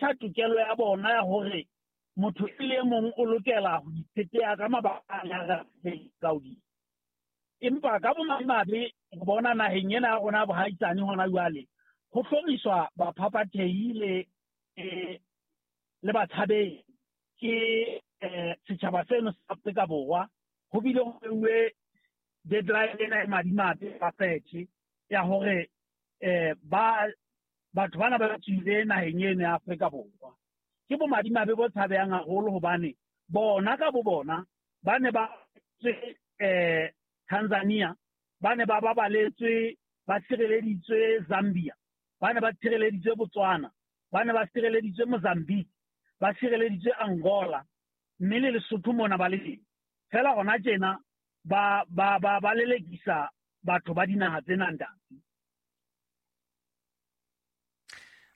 phetha tokelo ya bona ya hore motho e le mong o lokela ho itshetleha ka mabaka a ka hodimo. Empa ka bomadimabe re bona naheng ena ya rona bohaisane hona jwale ho hloriswa baphaphathehi le batshabehi ke setjhaba seno sa Afrika Borwa. Ho bile ho beuwe deadline ena e madimabe ba fethe ya hore ba batho bana ba tswile naheng eno ya Afrika Borwa. Ke bomadimabe bo tshabehang haholo hobane bona ka bo bona ba ne ba tswe Tanzania, ba ne ba babaletswe, ba tshireleditswe Zambia, ba ne ba tshireleditswe Botswana, ba ne ba tshireleditswe Mozambique, ba tshireleditswe Angola, mme le Lesotho mona ba le teng. Fela hona tjena ba ba ba ba lelekisa batho ba dinaha tsena, ntate.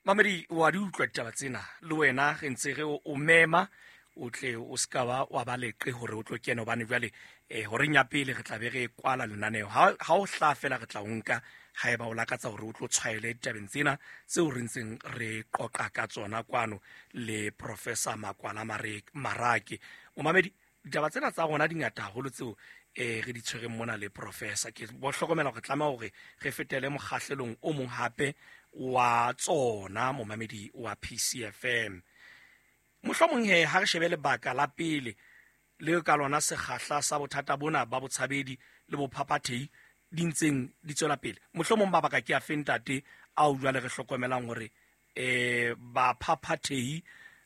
Mamedi, wa di utlwa ditaba tsena le wena, re ntse re o mema o tle o se ka ba wa ba leqe hore o tlo kena, hobane jwale horeng ya pele re tla be re kwala lenaneo. Ha o hlaha fela re tla o nka haeba o lakatsa hore o tlo tshwaele ditabeng tsena tseo re ntseng re qoqa ka tsona kwano le Professor Makwala Marake. Momamedi, ditaba tsena tsa rona di ngata haholo tseo re di tshwereng mona le professor. Ke bo hlokomela hore tlameha hore re fetele mokgahlelong o mong hape wa tsona, momamedi wa PCFM. Mohlomong he ha re shebe lebaka la pele le ka lona sekgahla sa bothata bona ba botshabedi le bophaphathehi di ntseng di tswela pele. Mohlomong mabaka ke afe, ntate, ao jwale re hlokomelang hore baphaphathehi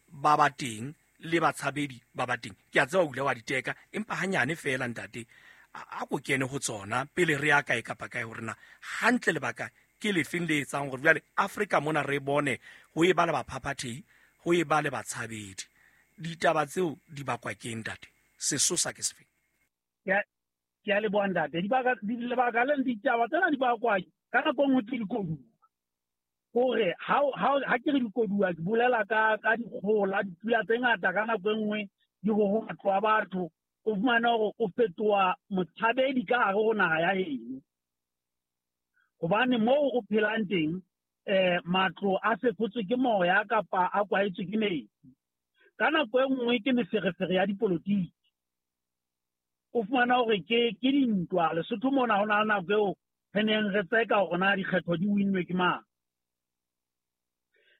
ba ba teng le batshabedi ba ba teng? Ke a tseba o ile wa di teka, empa hanyane feela, ntate, a ko kene ho tsona pele re ya kae kapa kae, hore na hantle lebaka ke lefeng le etsang hore jwale Afrika mona re bone ho e ba le baphaphathehi, ho e ba le batshabedi. Ditaba tseo di bakwa ke ntate? Sesosa ke sefeng? Ke a leboha, ntate. Lebaka le ditaba tsena di bakwa ka nako e nngwe ke dikoduwa. Hore ha ke re dikoduwa, ke bolela ka dikgola, dipula tse ngata ka nako e nngwe di ho matlo a batho, o fumane hore o fetoha motshabedi ka hare ho naha ya heno. Hobane moo o phelang teng matlo a fefotswe ke moya kapa a kwahetswe ke metsi. Ka nako e nngwe ke meferefere ya dipolotiki. O fumana hore ke dintwa. Lesotho mona ho na le nako eo re neng re tseka hore na dikgetho di winnwe ke mang.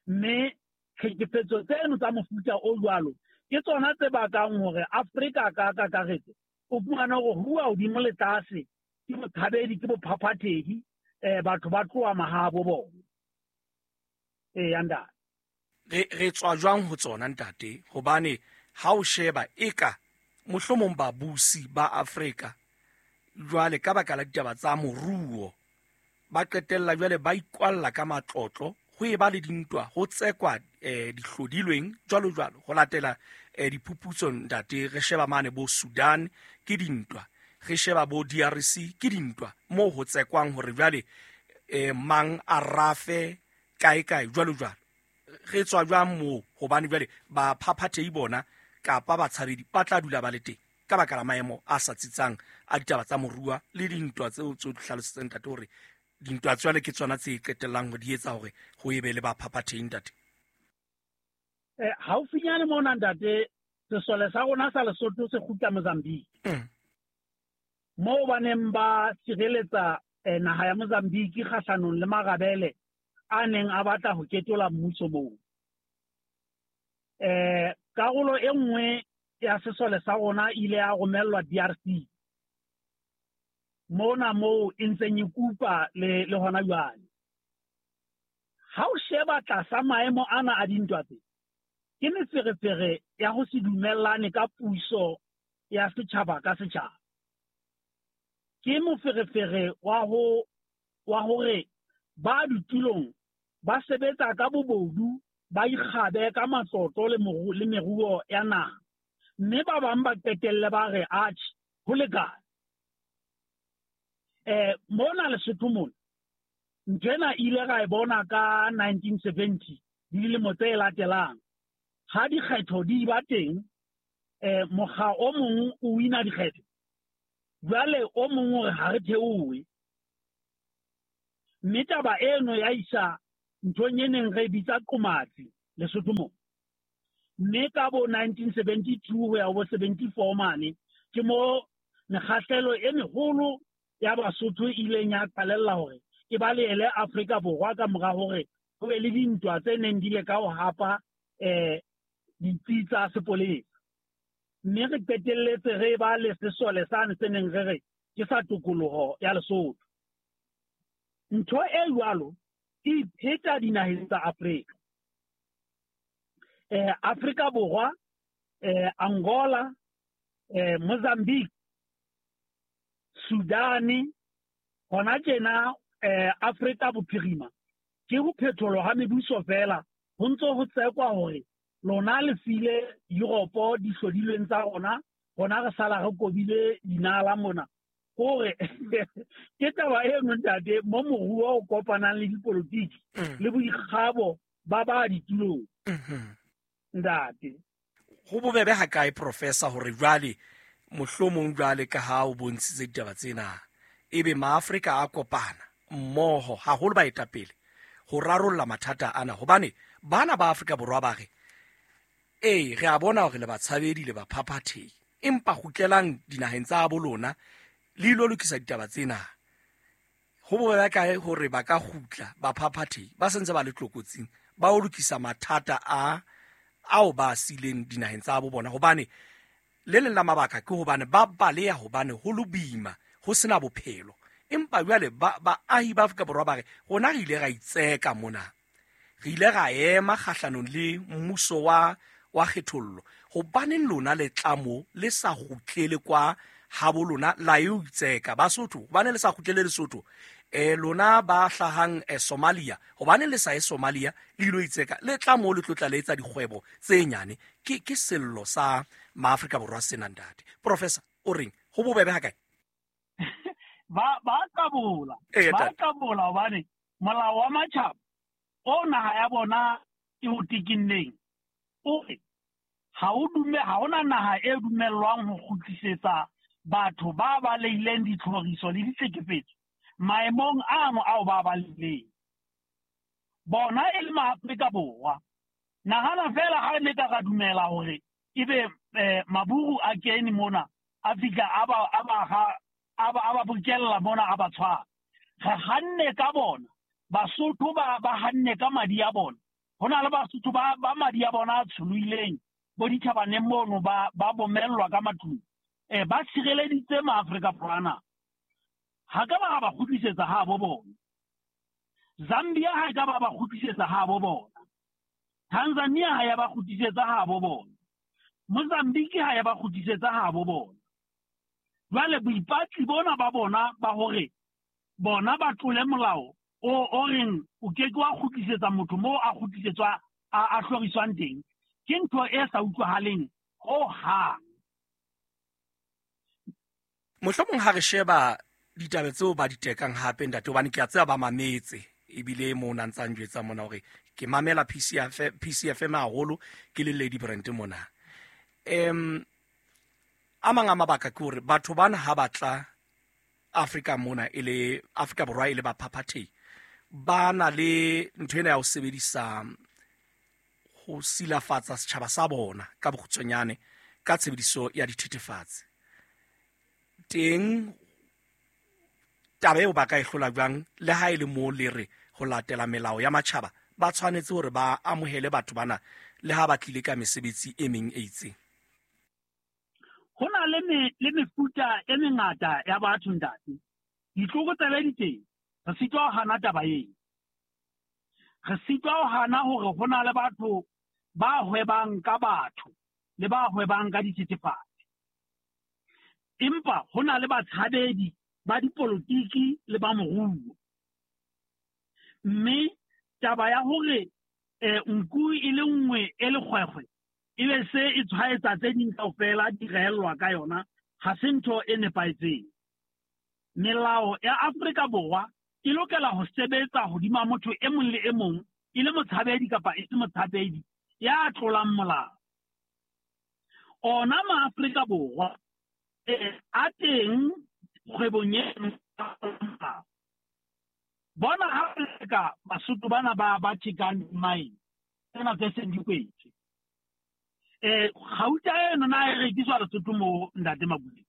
Mme tlhekefetso tseno tsa mofuta o jwalo ke tsona tse bakang hore Afrika ka kakaretso o fumane hore huwa hodimo le tlase ke botshabedi, ke bophaphathehi, batho ba tloha mahabo bona. Eya, ntate. Re tswa jwang ho tsona, ntate? Hobane ha o sheba eka mohlomong babusi ba Afrika jwale ka baka la ditaba tsa moruo ba qetella jwale ba ikwalla ka matlotlo, ho e ba le dintwa, ho tsekwa dihlodilweng jwalo jwalo. Ho latela diphuputso, ntate, re sheba mane bo Sudan ke dintwa, re sheba bo DRC ke dintwa, moo ho tsekwang hore jwale mang a rafe kae kae jwalo jwalo. Re tswa jwang moo? Hobane jwale baphaphathehi bona kapa batshabedi ba tla dula ba le teng ka baka la maemo a sa tsitsang a ditaba tsa moruo le dintwa tseo tse di hlalositseng, ntate, hore dintwa tswale ke tsona tse qetellang ho di etsa hore ho ebe le baphaphathehi, ntate. Haufinyane mona, ntate, sesole sa rona sa Lesotho se kgutla Mozambique. Moo ba neng ba sireletsa naha ya Mozambique kgahlanong le marabele a neng a batla ho ketola mmuso moo. Karolo e nngwe ya sesole sa rona ile ya romellwa DRC. Mona moo e ntseng e kupa le hona jwale. Ha o sheba tlasa maemo ana a dintwa tse, ke meferefere ya ho se dumellane ka puso ya setjhaba ka setjhaba. Ke moferefere wa hore ba ditulong ba sebetsa ka bobodu, ba ikgabe ka matlotlo le meruo ya naha. Mme ba bang ba qetelle ba re atjhe, ho lekane. Mona Lesotho mona, ntho ena ile ra e bona ka 1970 le dilemo tse latelang. Ha dikgetho di ba teng, mokga o mong o wina dikgetho. Jwale o mong o re ha re theohe. Mme taba eno ya isa nthong e neng re bitsa qomatsi. Lesotho mo. Mme ka bo 1972 ho ya ho bo 74 mane ke mo mekgahlelo e meholo ya Basotho e ileng ya qalella hore e balehele Afrika Borwa ka mora hore ho be le dintwa tse neng di le ka ho hapa ditsi tsa sepolesa. Mme re qetelletse re ba le sesole sane se neng re re ke sa tokoloho ya Lesotho. Ntho e jwalo e ipheta dinaheng tsa Afrika. Afrika Borwa, Angola, Mozambique, Sudane, hona tjena Afrika Bophirima ke ho phetholwa ha mebuso fela ho ntso ho tsekwa hore lona le file Europe dihlodilweng tsa rona, rona re sala re kobile dinala mona. Hore ke taba eno ntate mo moruo o kopanang le dipolotiki le boikgabo ba ba ditulong. Ntate. Ho bobebe ha kae professor hore jwale mohlomong jwale ka ha o bontshitse ditaba tsena ebe maAfrika a kopana mmoho haholo baetapele ho rarolla mathata ana, hobane bana ba Afrika Borwa ba re ee re a bona hore le batshabedi le baphaphathehi, empa kgutlelang dinaheng tsa bo lona le ilo lokisa ditaba tsena. Ho bobebe kae hore ba ka kgutla baphaphathehi ba sentse ba le tlokotsing ba o lokisa mathata a ao ba sileng dinaheng tsa bo bona, hobane le leng la mabaka ke hobane ba baleha hobane ho lo boima ho sena bophelo. Empa jwale baahi ba Afrika Borwa ba re rona re ile ra itseka mona, re ile ra ema kgahlanong le mmuso wa kgethollo, hobaneng lona le tla mo le sa kgutlele kwa habo lona la eo itseka Basotho, hobaneng le sa kgutlele Lesotho? Lona ba hlahang Somalia, hobaneng le sa ye Somalia le ilo itseka, le tla mo le tlotla le etsa dikgwebo tse nyane? Ke sello sa maAfrika Borwa sena ntate. Professor o reng, ho bobebe ha kae? Ba qabola, ba qabola hobane molao wa matjhaba o naha ya bona e o tikinneng o re ha hona naha e dumellwang ho kgutlisetsa batho ba balehileng ditlhoriso le ditlhekefetso maemong ano ao ba balehileng. Bona e le maAfrika Borwa. Nahana fela ha ne ka ra dumela hore ebe maburu a kene mona a fihla a ba bokella mona a ba tshwara. Re hanne ka bona, Basotho ba hanne ka madi a bona. Ho na le Basotho ba madi a bona a tsholohileng bo ditjhabaneng mono ba bomellwa ka matlung. Ba sireleditse maAfrika Borwa ana. Ha ka ba ba kgutlisetsa ha bo bona. Zambia ha ka ba ba kgutlisetsa ha bo bona. Tanzania ha ya ba kgutlisetsa ha bo bona. Mozambique ha ya ba kgutlisetsa ha bo bona. Jwale boipatli bona ba bona ba hore bona ba tlole molao o reng o ke ke wa kgutlisetsa motho moo a kgutlisetswa a hloriswang teng, ke ntho e sa utlwahaleng ho hang. Mohlomong ha re sheba ditaba tseo ba di tekang hape ntate, hobane ke a tseba ba mametse ebile mo na ntsang jwetsa mona hore ke mamela PCFM haholo, ke le Lady Brand mona. A mang a mabaka ke hore batho bana ha batla Afrika mona e le Afrika Borwa e le baphaphathehi, ba na le ntho ena ya ho sebedisa ho silafatsa setjhaba sa bona ka bokgutshwanyane ka tshebediso ya dithethefatsi. Teng taba eo ba ka e hlola jwang, le ha e le mo le re ho latela melao ya matjhaba ba tshwanetse hore ba amohele batho bana le ha ba tlile ka mesebetsi e meng e itseng? Ho na le mefuta e mengata ya batho ntate. Ditlokotsebe di teng, re sitwa ho hana taba eo. Re sitwa ho hana hore ho na le batho ba hwebang ka batho le ba hwebang ka dithethefatsi. Empa ho na le batshabedi ba dipolotiki le ba moruo. Mme taba ya hore nku e le nngwe e le kgwekgwe ebe se e tshwaetsa tse ding kaofela di reellwa ka yona, ha se ntho e nepahetseng. Melao ya Afrika Borwa e lokela ho sebetsa hodima motho e mong le e mong, e le motshabedi kapa e se motshabedi ya tlolang molao. Ona maAfrika Borwa a teng kgwebong e bona ha ka Basotho bana ba thekang mine. Tsena tse seng di kwetswe. Gauta eno na e rekiswa Lesotho mo, ntate Makutle?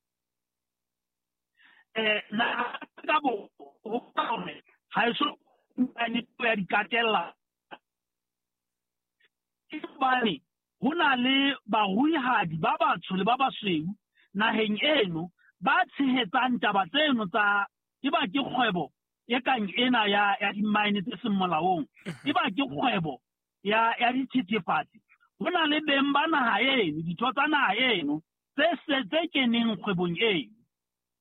Na ka bo hore ha e so ya dikatella, ke hobane ho na le baruihadi ba batsho le ba basweu naheng eno ba tshehetsang taba tseno tsa e ba ke kgwebo e kang ena ya di-mine tse seng molaong, e ba ke kgwebo ya dithethefatsi. Ho na le beng ba naha eno, ditho tsa naha eno tse se tse keneng kgwebong eno,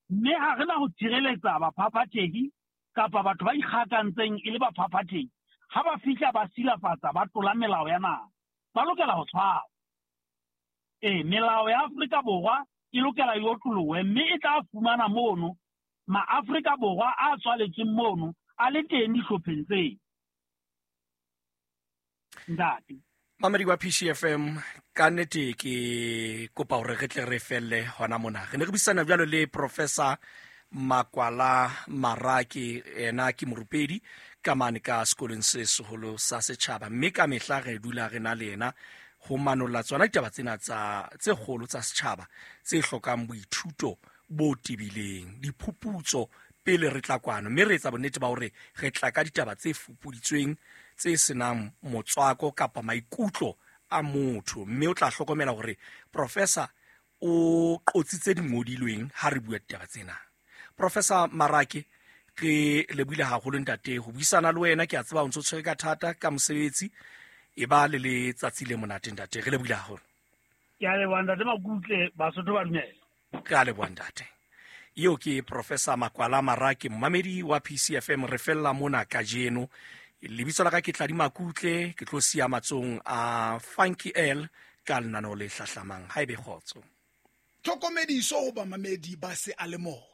mme ha re na ho tshireletsa baphaphathehi kapa batho ba ikgakantseng e le baphaphathehi. Ha ba fihla ba silafatsa, ba tlola melao ya naha, ba lokela ho tshwarwa. Melao ya Afrika Borwa e lokela e otlolohe, mme e tla fumana mono maAfrika Borwa a tswaletsweng mono a le teng dihlopheng tseo, ntate. Mamedi wa PCFM, ka nnete ke kopa hore re tle re felle hona mona. Re ne re buisana jwalo le Professor Makwala Marake, ena ke morupedi ka mane ka sekolong se seholo sa setjhaba, mme ka mehla re dula re na le yena ho manolla tsona ditaba tsena tsa tse kgolo tsa setjhaba tse hlokang boithuto bo tebileng, diphuputso pele re tla kwano, mme re etsa bonnete ba hore re tla ka ditaba tse fupuditsweng tse senang motswako kapa maikutlo a motho. Mme o tla hlokomela hore professor o qotsitse dingodilweng ha re bua ditaba tsena. Professor Marake, re lebohile haholo ntate ho buisana le wena. Ke a tseba o ntso tshwere ka thata ka mosebetsi, e ba le letsatsi le monate ntate, re lebohile haholo. Ke a leboha ntate Makutle, Basotho ba dumela. Re a leboha ntate. Eo ke Professor Makwala Marake, momamedi wa PCFM. Re fella mona kajeno. Lebitso la ka ke Tladi Makutle, ke tlo siya matsong a Funky L ka lenaneo le hlahlamang. Ha ebe kgotso. Tlhokomediso ho bamamedi ba seyalemoya.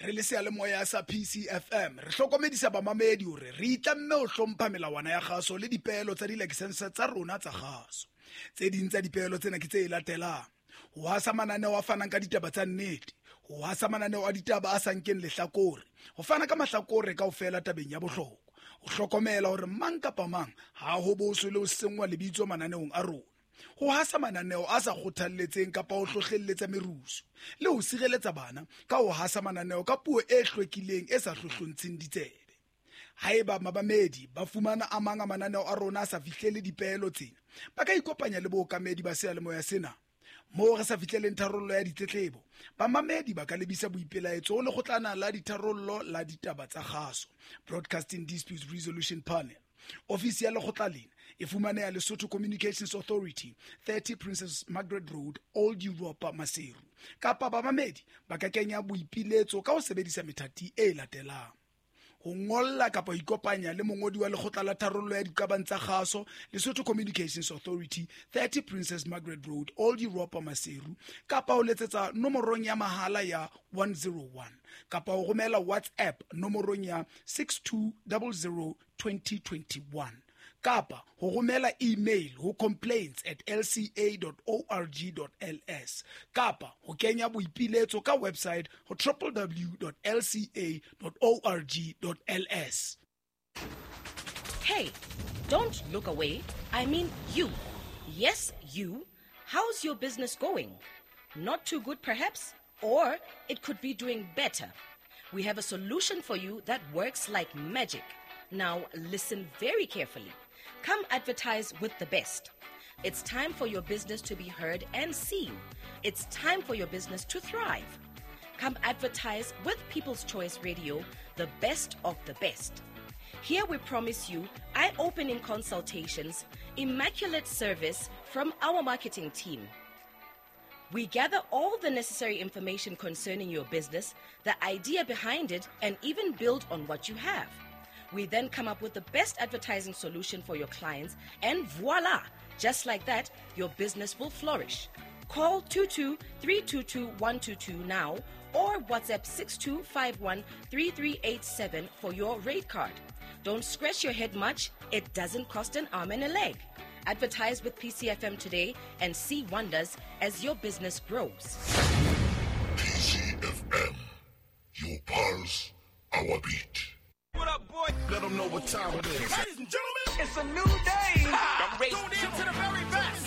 Re le seyalemoya sa PCFM re hlokomedisa bamamedi hore re itlamme ho hlompha melawana ya kgaso le dipeelo tsa dilakesense tsa rona tsa kgaso. Tse ding tsa dipeelo tsena ke tse latelang: ho hasa mananeo a fanang ka ditaba tsa nnete, ho hasa mananeo a ditaba a sa nkeng lehlakore, ho fana ka mahlakore kaofela tabeng ya bohlokwa, ho hlokomela hore mang kapa mang ha ho boswe le ho senngwa lebitso mananeong a rona, ho hasa mananeo a sa kgothalletseng kapa ho hlohlelletsa merusu, le ho sireletsa bana ka ho hasa mananeo ka puo e hlwekileng e sa hlohlontsheng ditsebe. Haeba mabamedi ba fumana a mang a mananeo a rona a sa fihlele dipeelo tsena, ba ka ikopanya le bookamedi ba seyalemoya sena. Moo re sa fihleleng tharollo ya ditletlebo, bamamedi ba ka lebisa boipelaetso ho lekgotlana la ditharollo la ditaba tsa kgaso, Broadcasting Disputes Resolution Panel. Ofisi ya lekgotla lena e fumaneha Lesotho Communications Authority, 30 Princess Margaret Road, Old Europa, Maseru. Kapa bamamedi ba ka kenya boipiletso ka ho sebedisa methati e latelang: ho ngolla kapa ho ikopanya le mongodi wa lekgotla la tharollo ya diqabang tsa kgaso, Lesotho Communications Authority, 30 Princess Margaret Road, Old Europa, Maseru, kapa ho letsetsa nomorong ya mahala ya 101, kapa ho romela WhatsApp nomorong ya 6200 2021, kapa ho romela email ho complaints@lca.org.ls, kapa ho kenya boipiletso ka website ho www.lca.org.ls. Hey, don't look away. I mean you. Yes, you. How's your business going? Not too good, perhaps? Or it could be doing better. We have a solution for you that works like magic. Now, listen very carefully. Come advertise with the best. It's time for your business to be heard and seen. It's time for your business to thrive. Come advertise with People's Choice Radio, the best of the best. Here we promise you eye opening consultations, immaculate service from our marketing team. We gather all the necessary information concerning your business, the idea behind it, and even build on what you have. We then come up with the best advertising solution for your clients, and voila! Just like that, your business will flourish. Call 22 322 122 now or WhatsApp 6251 3387 for your rate card. Don't scratch your head much, it doesn't cost an arm and a leg. Advertise with PCFM today and see wonders as your business grows. PCFM, your pulse, our beat. What up, boy? Let them know what time it is. Ladies and gentlemen. It's a new day. I'm ready. Tune in to the very best.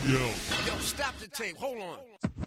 Yo, stop the tape. Hold on.